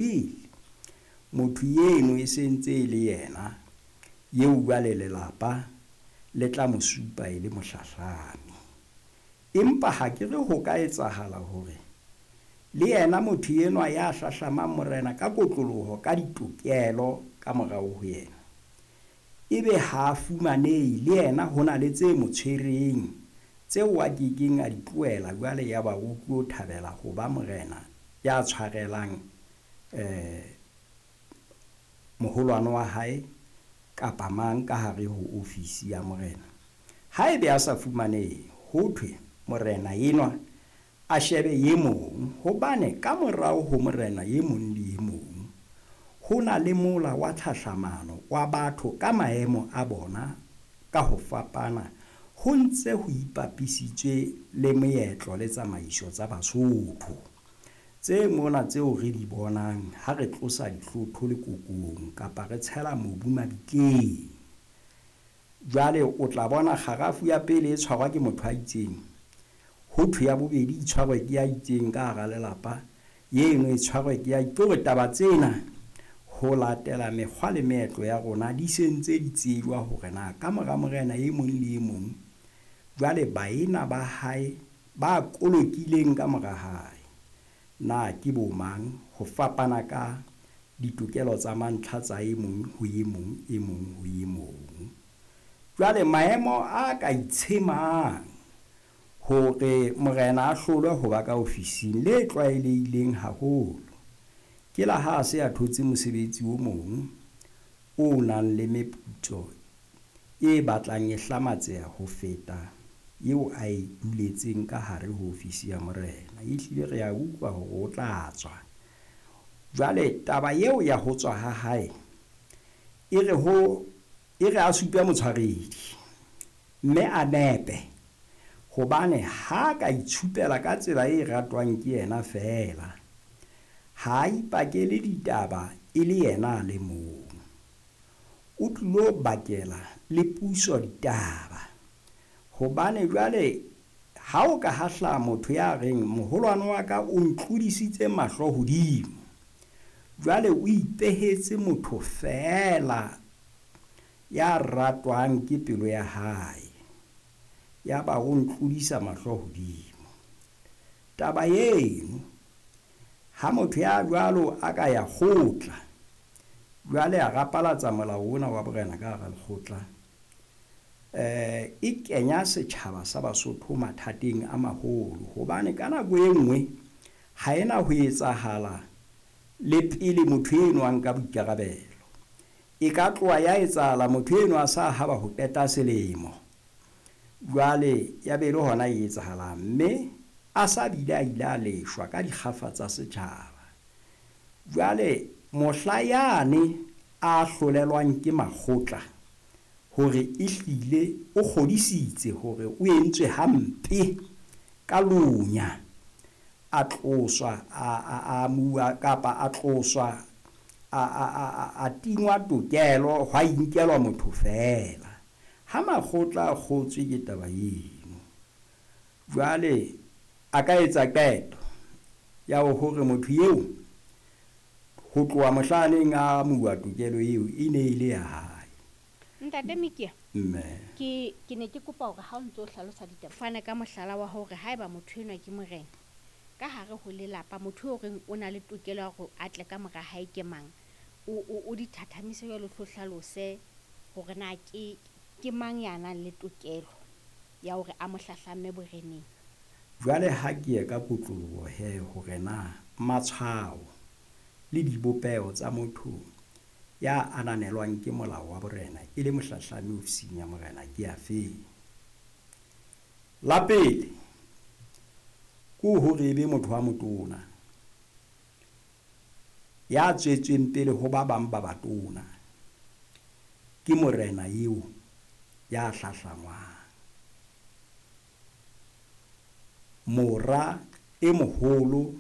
Pele motho eno e se ntse e le yena eo jwale lelapa le tla mo supa e le mohlahlami. Empa ha ke re ho ka etsahala hore le yena motho enwa ya hlahlamang morena ka kotloloho ka ditokelo ka morao ho yena, ebe ha a fumanehe, le yena ho na le tse mo tshwereng tseo a ke keng a di tlohela jwale yaba o tlo thabela ho ba morena ya tshwarelang moholwane wa hae kapa mang ka hare ho ofisi ya morena. Haebe a sa fumanehe, ho thwe morena enwa a shebe e mong, hobane ka morao ho morena e mong le e mong ho na le mola wa tlhahlamano wa batho ka maemo a bona ka ho fapana, ho ntse ho ipapisitswe le meetlo le tsamaiso tsa Basotho. Tse mona tseo re di bonang ha re tlosa dihlotho lekokong kapa re tshela mobu mabitleng. Jwale o tla bona kgarafu ya pele e tshwarwa ke motho a itseng, ho thwe ya bobedi e tshwarwe ke ya itseng ka hara lelapa, eno e tshwarwe ke ya ke hore taba tsena ho latela mekgwa le meetlo ya rona di se ntse di tsejwa hore na ka mora morena e mong le e mong jwale baena ba hae ba kolokileng ka mora hae na ke bo mang, ho fapana ka ditokelo tsa mantlha tsa e mong ho e mong, e mong ho e mong. Jwale maemo a ka itshemang hore morena a hlolwe ho ba ka ofising le tlwaelehileng haholo ke la ha a se a thotse mosebetsi o mong o nang le meputso e batlang e hlamatseha ho feta eo a e duletseng ka hare ho ofisi ya morena. Ehlile re a utlwa hore o tla tswa. Jwale taba eo ya ho tswa ha hae e re ho e re a supe motshwaredi mme a nepe, hobane ha ka itshupela ka tsela e ratwang ke yena feela, ha a ipakele ditaba e le yena a le mong. O tlilo bakela le puso ditaba, hobane jwale ha o ka ha hlaha motho ya reng moholwane wa ka o ntlodisitse mahlo hodimo, jwale o ipehetse motho feela ya ratwang ke pelo ya hae, ya ba o ntlodisa mahlo hodimo. Taba eno ha motho ya jwalo a ka ya kgotla, jwale a rapalatsa molao ona wa borena ka hara lekgotla, e kenya setjhaba sa Basotho mathateng a maholo, hobane ka nako e nngwe ha ena ho etsahala le pele motho eno a nka boikarabelo. E ka tloha ya etsahala motho eno a sa haba ho qeta selemo, jwale ya be le hona e etsahalang, mme a sa bile a ile a leshwa ka dikgafa tsa setjhaba. Jwale mohla yane a hlolelwang ke makgotla hore ehlile o kgodisitse hore o entswe hampe ka lonya, a tloswa, a amuwa kapa a tloswa, a tingwa tokelo, hwa inkelwa motho feela. Ha makgotla a kgotswe ke taba eno, jwale a ka etsa qeto ya hore motho eo ho tloha mohlaneng a amuwa tokelo eo e ne e le ya hae. Ntate Mikia, Mme. ke ne ke kopa hore ha o ntso hlalosa ditaba, fane ka mohlala wa hore haeba motho enwa ke morena ka hare ho lelapa, motho eo reng o na le tokelo ya hore a tle ka mora hae ke mang, o di thathamise jwalo, o hlalose hore na ke mang ya nang le tokelo ya hore a mo hlahlamme boreneng. Jwale ha ke ye ka kotloloho he hore na matshwao le dibopeho tsa motho ya ananelwang ke molao wa borena e le mohlahlami ofising ya morena ke afe. La pele ke hore e be motho wa motona ya tswetsweng pele ho ba bang ba batona, ke morena eo ya hlahlangwang. Mora e moholo